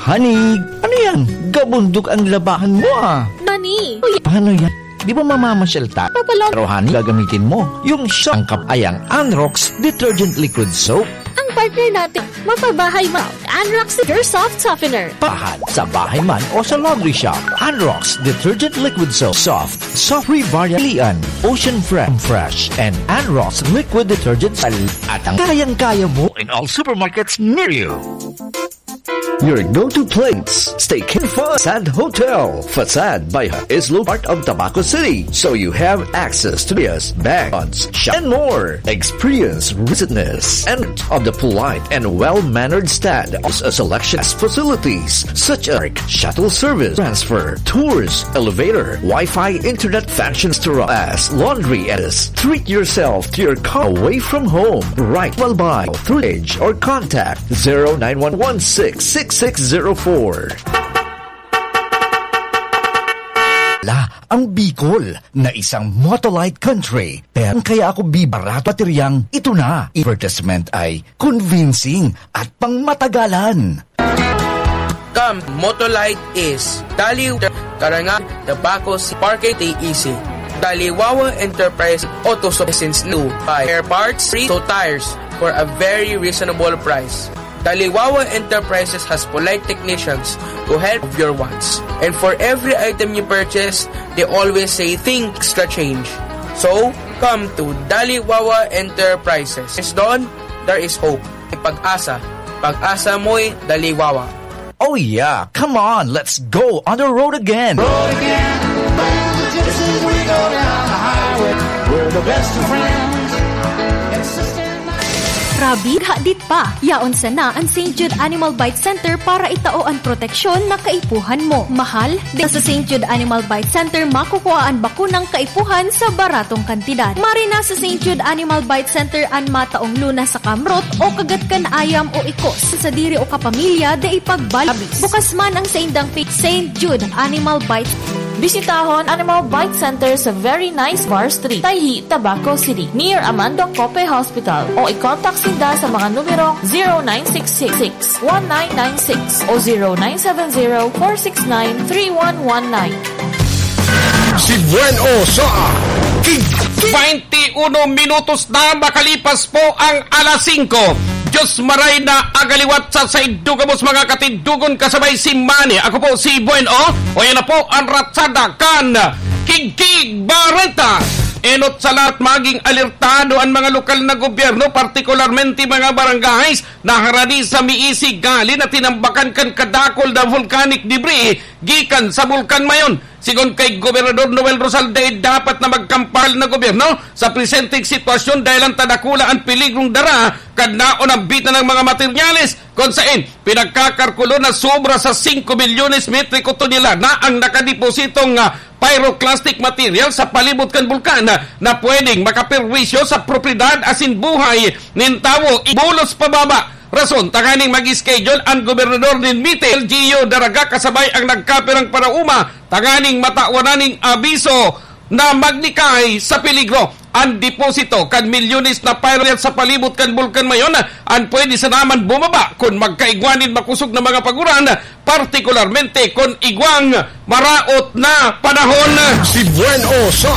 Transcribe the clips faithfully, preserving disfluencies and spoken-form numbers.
Honey, ano yan? Gabundok ang labahan mo, ah. Honey, uy. Ano yan? Di ba mamamasyal ta? Papalon. Pero, honey, gagamitin mo yung sangkap ay ang Anrox Detergent Liquid Soap. Ang partner natin, mapabahay mo. Anrox Pure Soft Softener. Pahan sa bahay man o sa laundry shop. Anrox Detergent Liquid Soap. Soft, soft, Rivaria Lian, Ocean Fresh, Fresh, and Anrox Liquid Detergent Sal. At ang kayang-kaya mo in all supermarkets near you. Your go-to place. Stay in Facade Hotel. Facade by Islo, part of Tabaco City. So you have access to beers, bank, shop, and more. Experience ruggedness and of the polite and well-mannered stand. Also a selection of facilities such as shuttle service, transfer, tours, elevator, Wi-Fi, internet, fashion store, as laundry, as treat yourself to your car away from home. Right well by through age or contact zero nine one one six six six zero four. La, ang Bicol na isang motolite country. Pero kaya ako bibarato bateryang ito na. Advertisement ay convincing at pangmatagalan. Come, Motolite is Dali, Karangan, Tabaco, Parque, T E C. Daliwawa Enterprise Auto Solutions, new by air parts, free to tires for a very reasonable price. Daliwawa Enterprises has polite technicians who help your wants. And for every item you purchase, they always say, "Think extra change." So, come to Daliwawa Enterprises. It's done, there is hope. May pag-asa. Pag-asa mo'y Daliwawa. Oh yeah, come on, let's go on the road again. Road again. Band of the Gypsies, we go down the highway. We're the best of friends. Insisting Rabi, hadit pa. Yaon sana an Saint Jude Animal Bite Center para itao an proteksyon na kaipuhan mo. Mahal, di sa Saint Jude Animal Bite Center makukua an bakunang kaipuhan sa baratong kantidad. Maray na sa Saint Jude Animal Bite Center an mataong luna sa kamrot o kagat kan ayam o ikos. Sadiri o kapamilya, dai pagbalabis. Bukas man ang saindang pa-, Saint Jude Animal Bite. Bisitahon Animal Bite Center sa Very Nice Bar Street, Tayhi, Tabaco City, near Amando Cope Hospital, o i-contact sinda sa mga numerong zero nine six six six one nine nine six o zero nine seven zero four six nine three one one nine. Si Buen O sa King. Baynte uno minutos na makalipas po ang alas singko. Diyos maray na agaliwat sa saindo gabos, mga katindogon, kasabay si Manny. Ako po si Buen O. O yan na po ang ratsada kan Kigkig Bareta. Enot sa lahat, maging alertado an mga lokal na gobyerno, partikularmente mga barangays na harani sa miisi gali na tinambakan kan kadakul na volcanic debris gikan sa Bulkan Mayon. Sigon kay Gobernador Noel Rosal, dai dapat na magkampal na gobyerno sa presenteng sitwasyon dahil ang tadakula an peligrong dara kan naonambitan ng mga materyales, kung sain pinagkakalkulo na sobra sa singko milyones metriko tonelada ang nakadepositong, ah, pyroclastic material sa palibot kan bulkan, ah, na pwedeng makaperwisyo sa propiedad asin buhay nin tawo. Ibulos pababa. Rason tanganing mag-schedule an gobernador nin MITEL, Gio Daraga, kasabay ang nagkapirang paraoma tanganing matawan na ning abiso na maglikay sa peligro. An deposito kan milyones na pyro sa palibot kan Bulkan Mayon an pwede sana man bumaba kun magkaigwa nin makosog na mga paguran, partikularmente kun igwang maraot na panahon. Si Buen O sa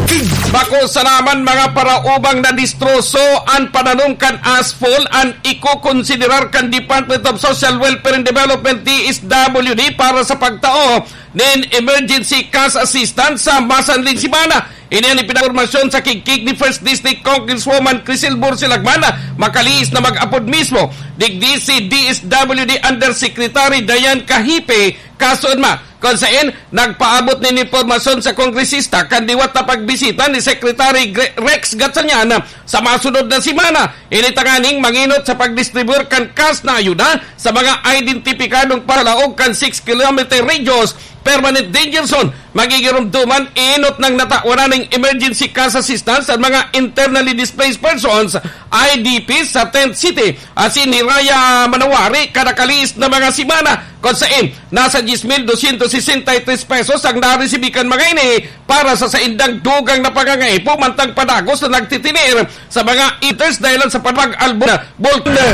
King. Bako sana man mga paraomang nadistroso an pananom kan asphalt, an ikokonsiderar kan Department of Social Welfare and Development, D S W D, para sa pagtao nin emergency cash assistance sa masanling semana. Ini an ipinag-, impormasyon sa kigkig ni First District Congresswoman Crisel Bursilagman, makalihis na mag-apod mismo digdi si D S W D Undersecretary Diane Cahipe Casunma, kun sain nagpaabot nin impormasyon sa kongresista kan liwat na pagbisita ni Secretary Gre-, Rex Gatchalian sa masunod na semana. Ini tanganing mangenot sa pagdistribuyar kan cash na ayuda sa mga identipikadong palaog kan six kilometer radius permanent danger zone. Magigiromdoman, enot nang natawan na ning emergency cash assistance an mga internally displaced persons, I D Ps, sa Tent City asin Hiraya, Manawari, kada kalihis na mga semana, kun sain nasa diyes mil dosyentos sesenta y tres pesos ang naresibi kan mga ini para sa saindang dugang na pangangaipo, mantang padagos na nagtitineer sa mga eaters dahilan sa pag-albo na bulkan.